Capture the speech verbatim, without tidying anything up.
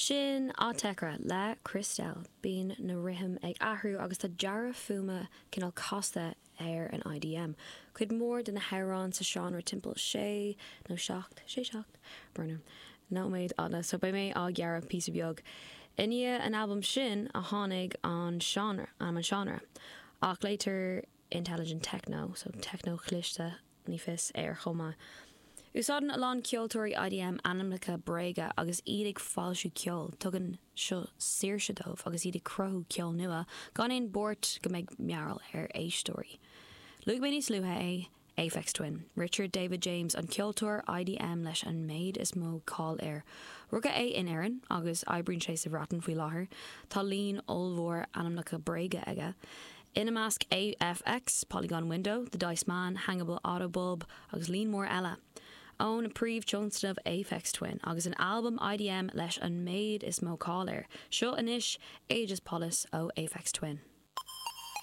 Sin Autechre le Cristelle. Bíonn na rithim ag athrú agus tá dearadh fuaime cineál casta ar an IDM. Cuid mhór de na hamhráin sa seánra timpeall sé nó seacht sé seacht brna. Nóiméad fada so beidh mé á ghearradh píosa beag. I ndiaidh an albam sin a tháinig an seánra an an seánra. Ach glaotar intelligent techno, so techno chliste ní fios air chomh maith. Úsáideann a lán ceoltóirí IDM ainmneacha bréige agus iad ag foilsiú ceol, tugann seo saoirse dóibh agus iad ag cruthú ceol nua gan aon buairt go mbeidh mearbhall ar éisteoirí. Luaigh mé níos luaithe é Aphex Twin. Richard David James an ceoltóir IDM leis an méid is mó cáil air. Rugadh é in Éirinn agus oibríonn sé sa Bhreatain faoi láthair, Tá líon ollmhór ainmneacha bréige aige. Ina measc AFX, Polygon Window, The Dice Man, Hangable Autobulb agus líon mór eile. Ón príomhthionscnamh Aphex Twin agus an albam IDM leis an méid is mó cáil air. Seo anois Aegis Polis ó Aphex Twin.